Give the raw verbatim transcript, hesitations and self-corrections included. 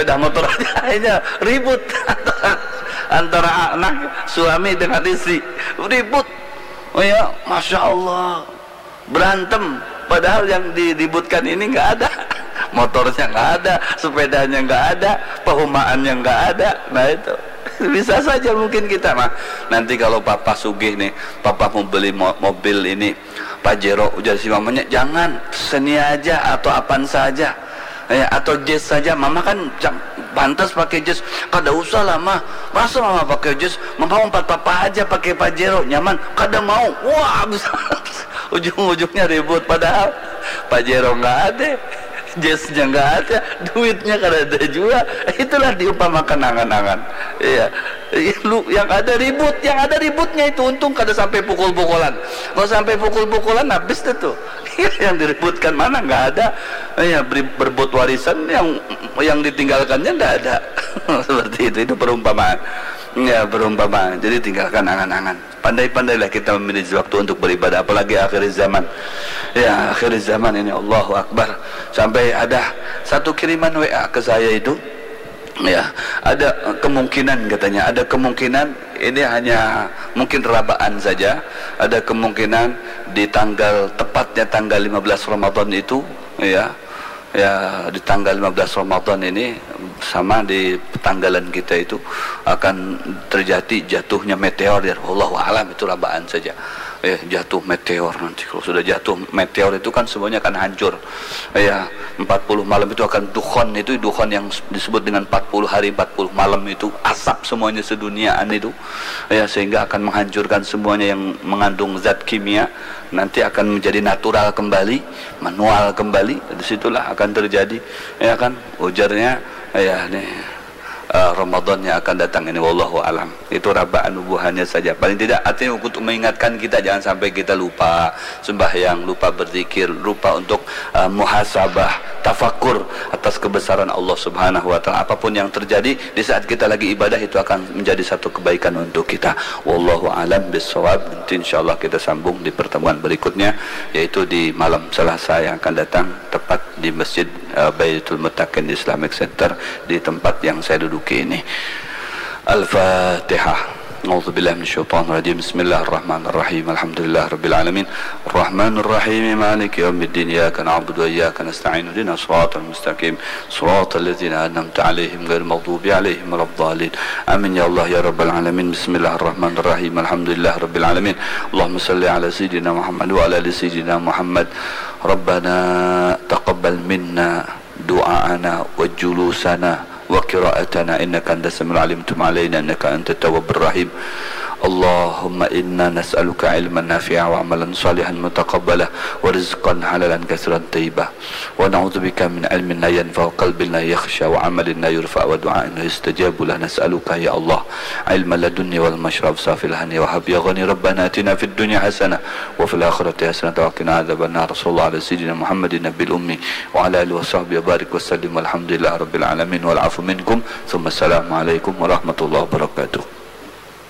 Sepeda motor aja akhirnya ribut antara anak, suami dengan istri, ribut. Oh ya, masya Allah, berantem. Padahal yang diributkan ini nggak ada, motornya nggak ada, sepedanya nggak ada, pehumaannya nggak ada. Nah, itu bisa saja mungkin kita mah, nanti kalau papa sugih nih, papa mau beli mo- mobil ini, Pajero, ujar si mamanya, "Jangan, Xenia aja atau Avanza aja, ya, atau Jazz saja. Mama kan pantas pakai Jazz." "Kada usah lah, mah. Masa mama pakai Jazz? Mama umpat papa aja pakai Pajero, nyaman." "Kada mau." Wah, ujung-ujungnya ribut, padahal Pajero nggak ada, Jazznya nggak ada, duitnya kada ada juga. Itulah diumpamakan angan-angan. Iya. Lu yang ada ribut, yang ada ributnya itu, untung kada sampai pukul-pukulan. Kalau sampai pukul-pukulan, habis deh tuh. Yang diributkan mana, nggak ada. Ya, beri- berebut warisan, yang yang ditinggalkannya nggak ada. Seperti itu, itu perumpamaan. Ya, perumpamaan. Jadi tinggalkan angan-angan. Pandai-pandailah kita memilih waktu untuk beribadah, apalagi akhir zaman. Ya, akhir zaman ini, Allahu Akbar. Sampai ada satu kiriman W A ke saya itu, ya, ada kemungkinan, katanya, ada kemungkinan ini hanya mungkin rabaan saja, ada kemungkinan di tanggal, tepatnya tanggal lima belas Ramadan itu, ya, ya, di tanggal lima belas Ramadan ini, sama di tanggalan kita itu, akan terjadi jatuhnya meteor, ya. Wallahu alam, itu rabaan saja. Eh, jatuh meteor nanti. Kalau sudah jatuh meteor itu kan semuanya akan hancur. Ya, empat puluh malam itu akan dukhon, itu dukhon yang disebut dengan empat puluh hari, empat puluh malam itu, asap semuanya seduniaan itu. Ya, sehingga akan menghancurkan semuanya yang mengandung zat kimia, nanti akan menjadi natural kembali, manual kembali. Disitulah akan terjadi, ya kan, ujarnya. Ya, nih, eh, Ramadan yang akan datang ini, wallahu alam. Itu rabaan bubuhannya saja. Paling tidak, artinya, untuk mengingatkan kita, jangan sampai kita lupa sembahyang, lupa berzikir, lupa untuk, eh, muhasabah, tafakur atas kebesaran Allah Subhanahu wa Ta'ala. Apapun yang terjadi di saat kita lagi ibadah, itu akan menjadi satu kebaikan untuk kita. Wallahu alam bisawab. Nanti, insyaallah, kita sambung di pertemuan berikutnya, yaitu di malam Selasa yang akan datang, tepat di Masjid, eh, Baitul Muttaqin Islamic Center, di tempat yang saya duduki ini. Al-Fatihah. أعوذ بالله من الشيطان الرجيم. بسم الله الرحمن الرحيم. الحمد لله رب العالمين. الرحمن الرحيم. مالك يوم الدين. إياك نعبد وإياك نستعين. اهدنا الصراط المستقيم. صراط الذين أنعمت عليهم غير المغضوب عليهم ولا الضالين. آمين يا الله يا رب العالمين. بسم الله الرحمن الرحيم. الحمد لله رب العالمين. اللهم صل على سيدنا محمد وعلى آل سيدنا محمد. ربنا تقبل منا دعاءنا وجلوسنا وقراءتنا إنك أنت السميع العليم، تب علينا إنك أنت التواب الرحيم. اللهم إنا نسألك علما نافعا وعملا صالحا متقبلا ورزقا حلالا كثيرا طيبا، ونعوذ بك من علم لا ينفع وقلب لا يخشع وعمل لا يرفع ودعاء لا يستجاب له. نسألك يا الله علما لا يضيع والمشرب صافي الهني وهب يا غني. ربنا آتنا في الدنيا حسنة وفي الآخرة حسنة وقنا عذاب النار. صلى الله على سيدنا محمد النبي الأمي وعلى آله وصحبه وبارك وسلم. والحمد لله رب العالمين. والعفو منكم. ثم السلام عليكم ورحمة الله وبركاته.